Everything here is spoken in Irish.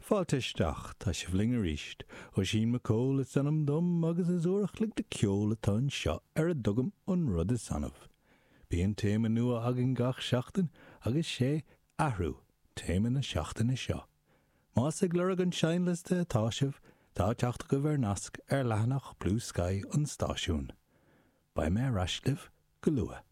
Fáilte isteach, tá sibh linn arís. Oisín McCole is ainm dom agus is uair a chloig de ceol atá anseo ar a dtugaim an rud is annamh. Bíonn téama nua againn gach seachtain agus sé 'Athrú' téama na seachtaine seo. Más ag lorg an seinnliosta atá sibh, tá teacht agaibh ar nasc ar leathanach Bluesky an stáisiúin. Beidh mé ar ais libh go luath.